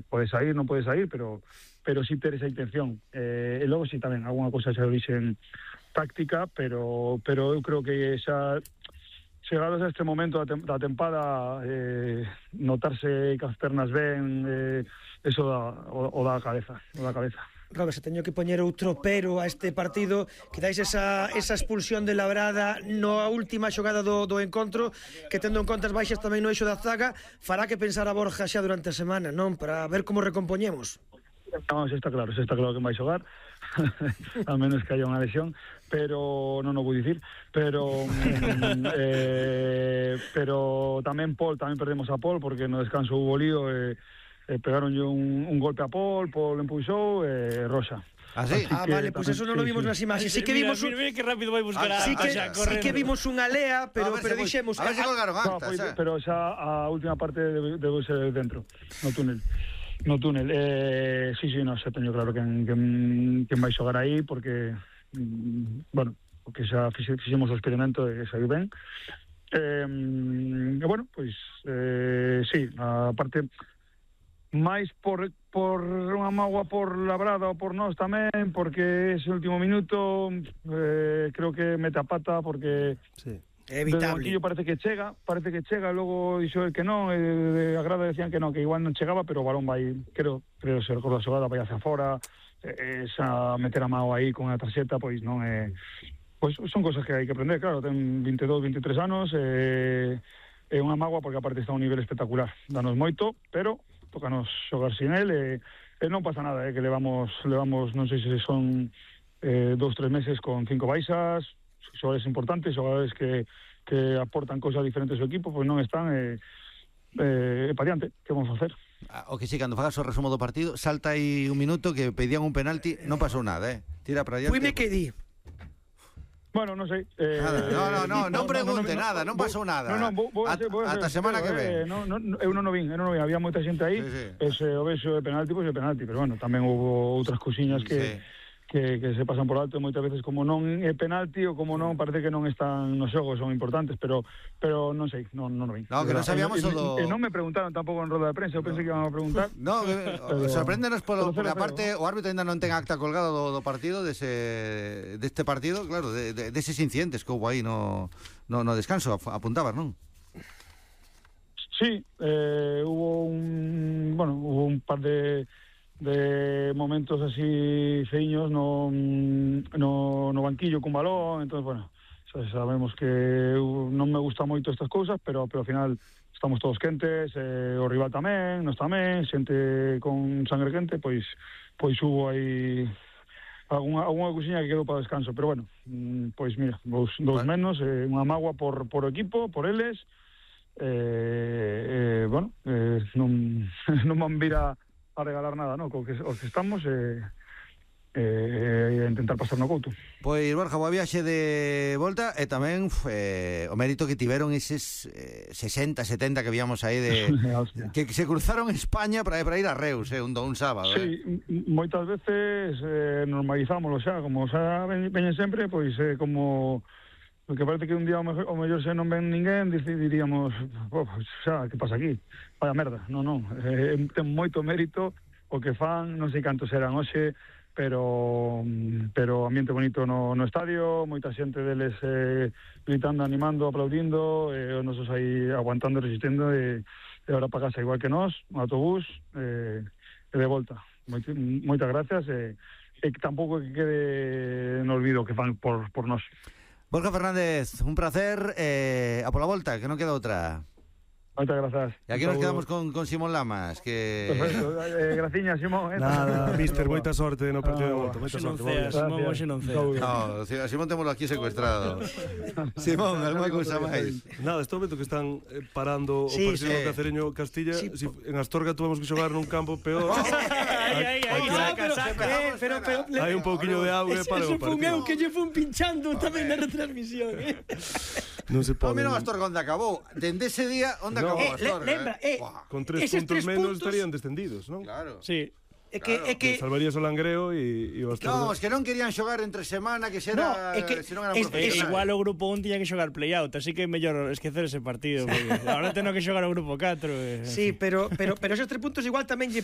pode sair, non pode sair, pero sí ter esa intención. E logo sí tamén, alguna cousa xa de orixen táctica, pero eu creo que xa chegados a este momento da tempada, notarse que as pernas ben, eso o da cabeza. Robert, se teño que poñer outro pero a este partido, quizáis esa expulsión de Labrada na última xogada do encontro, que tendo en conta as baixas tamén no eixo da zaga, fará que pensar a Borja xa durante a semana, non? Para ver como recompoñemos. Non, está claro que vai xogar, a menos que haya unha lesión, pero non o vou dicir, pero tamén perdemos a Paul, porque no descanso hubo lío, pegaronlle un golpe a Paul empuxou, Roxa. ¿Ah, sí? Vale, pues eso non lo vimos nas imaxes. Sí que vimos mira que rápido vai buscar a sí que vimos unha lea, pero dixemos, a ver se colgaron antes, pero xa a última parte debe ser dentro, no túnel. Sí, no, xa teño claro quen vai xogar aí, porque porque xa fixemos o experimento e saiu ben. Sí, a parte máis por unha mágoa por Labrada ou por nós tamén, porque ese último minuto creo que mete a pata, porque sí, é evitable. Desde o parece que chega, logo dixo el que non, a grada decían que non, que igual non chegaba, pero o balón vai, creo se recorda a xogada, vai hacia fora, esa meter a mao aí con a tarxeta, pois non é, pois son cosas que hai que aprender, claro, ten 22, 23 anos, é unha mágoa porque aparte está a un nivel espectacular, danos moito, pero tócanos xogar sin él, e non pasa nada, que levamos, non sei se son 2-3 meses con 5 baixas, xogadores importantes, xogadores que aportan cousas diferentes ao equipo, pois non están, pa diante, que vamos a facer? O que sí, cando fagas o resumo do partido, salta aí un minuto que pedían un penalti, non pasou nada, tira para diante. Fui me quedí. Bueno, non sei. Non pregunte nada, non pasou nada. Ata semana que ven. Eu non o vin, había moita xente aí, o vexo de penalti, pois de penalti, pero bueno, tamén houve outras cousiñas que se pasan por alto moitas veces, como non é penalti ou como non, parece que non están nos xogos, son importantes, pero non sei, non o vin. No, que non sabíamos non me preguntaron tampouco en roda de prensa, eu pensei que iban a preguntar. No, sorpréndenos porque aparte o árbitro ainda non ten acta colgada do partido deste partido, claro, deses incidentes que houve aí no descanso, apuntabas, non? Sí, hubo un par de momentos así feiños no banquillo cun balón, entonces, bueno, sabemos que non me gusta moito estas cousas, pero ao final estamos todos quentes, o rival tamén, nós tamén, xente con sangre quente, pois hubo aí alguna cousiña que quedou para descanso, pero bueno, pois mira, dos menos, unha mágoa por o equipo, por eles, non van vir a regalar nada, ¿no? Os que estamos intentar pasar no couto. Pois, Borja, boa viaxe de volta, e tamén o mérito que tiveron eses 60, 70 que víamos aí que se cruzaron España para ir a Reus, un sábado. Sí, moitas veces normalizámoslo xa, como xa veñen sempre, pois como porque parece que un día o mellor se non ven ninguén, diríamos, xa, que pasa aquí? Vaya merda, non, ten moito mérito o que fan, non sei cantos eran hoxe, pero ambiente bonito no estadio, moita xente deles gritando, animando, aplaudindo, os nosos aí aguantando, resistindo, e ahora para casa igual que nós, un autobús, e de volta. Moitas gracias, e tampouco que quede no olvido que fan por nós. Borja Fernández, un placer, a pola volta, que non queda outra. Moitas grazas. E aquí nos quedamos con Simón Lamas, que... Perfecto, graciña, Simón. Nada, mister, moita sorte no partido de volta. Moita sorte. Simón, hoxe non cea. No, a Simón témolo aquí secuestrado. Simón, alguma cousa máis? Nada, este momento que están parando o partido do Cacereño Castilla, en Astorga tuvemos que xogar nun campo peor. Hai un pouquiño de auga para o partido. Ese fun eu que lle fun pinchando tamén na retransmisión. Non se pode. Mira o Astorga onde acabou. Dende ese día onde acabou Astorga. Lembra, con 3 puntos menos estarían descendidos, non? Claro. Sí. salvarías o Langreo e o Astorga. No, es que non querían xogar entre semana, que se non eran profesionales. Igual o grupo 1 tiña que xogar play-out, así que é mellor esquecer ese partido, porque agora teno que xogar o grupo 4. Sí, pero esos 3 puntos igual tamén lle